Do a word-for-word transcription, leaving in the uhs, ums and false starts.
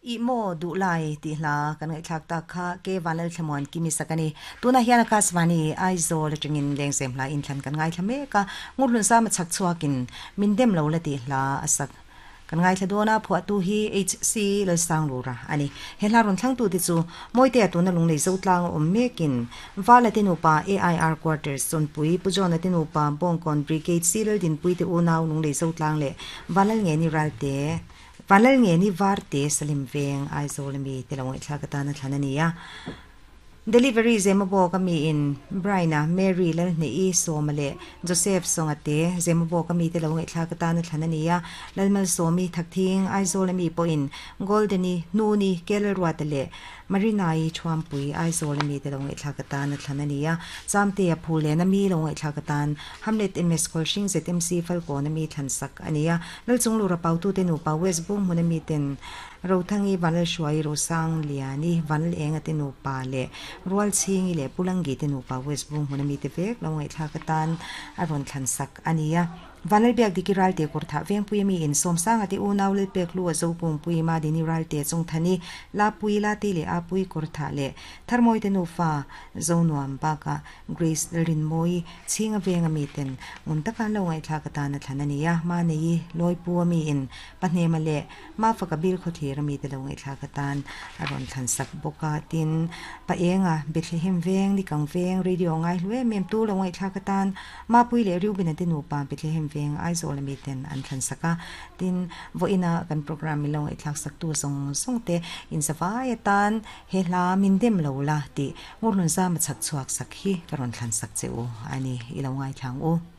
I maw duh lai tih hla kan ngaihthlak tak kha ke Vanlal Thlamuan Kimi sak a ni. Tunah hian Akashvani Aizawl atangin lengzem hla inthlan kan ngaithla mek a, Ngurhlun Sama chhak chhuakin min dem lo la tih hla a sak kan ngaithla dawn a, phuahtu hi HC Lalsanglura a ni. He hla rawn thlangtu te chu Mawitea tuna lunglei zo tlang a awm mekin Vala te nupa AIR Quarters Chawnpui Pu Johna te nupa Bawngkawn Brigade C Laldinpui te unau lunglei zo tlang leh Vanlal Ngeni Ralte Vanlal Ngeni Varte Salim Veng Aizawl ami te lo ngaihthlak atana thlan a ni a. Delivery Zemabawk ami in Brian-a, Mary Lalhneih-i, Sawma leh Joseph Sawnga te Zemabawk ami te lo ngaihthlak atana thlan a ni a. Lalmalsawmi Thakthing Aizawl ami pawhin Golden-i, Hnuni, Kelruata leh Marina-i Thuampui Aizawl ami te lo ngaihthlak atana thlan a ni a. Chamtea Phulen ami lo ngaihthlak atan Hamlet MS Khawlhring ZMC Falkawn ami thlan sak a ni a. Lalchunglura Pautute nupa West Bunghmun ami ten Rothangi Vanlalhruai Rosang Liani Vanlalenga te nupa leh Rualchhingi leh Pulangi te nupa West Bunghmun ami te vek lo ngaihthlak atan a rawn thlan sak a ni a. Vanlalbiak Diki Ralte Kawrthah Vengpui ami in Sawmsanga te unau Lalpek Lu a Zopungpui Madini Ralte Chawngthani Lapui Late leh Apui Kawrthah leh Tharmawi te nufa Zonuam bakah Grace Lalrinmawi Chhinga Veng ami ten ngun taka an lo ngaihthlak atan a thlan a ni a. Manei Lawipu ami in Pahnema leh Mafaka bil khawthlir ami te lo ngaihthlak atan a rawn thlan sak bawk a. Tin, Paenga, Bethlehem Veng, Nikang Veng, Radio ngai hlu em em tu lo ngaihthlak atan Mapui leh Reuben-a te nupa Bethlehem Veng, Aizawl ami ten an thlan sak a. Tin, vawiina kan program min lo ngaihthlak sak tu zawng zawng te inzavai atan he hla min dem lo la tih Ngurhlun Zama chhak chhuak sak hi ka rawn thlan sak che u a ni. I lo ngaithla ang u.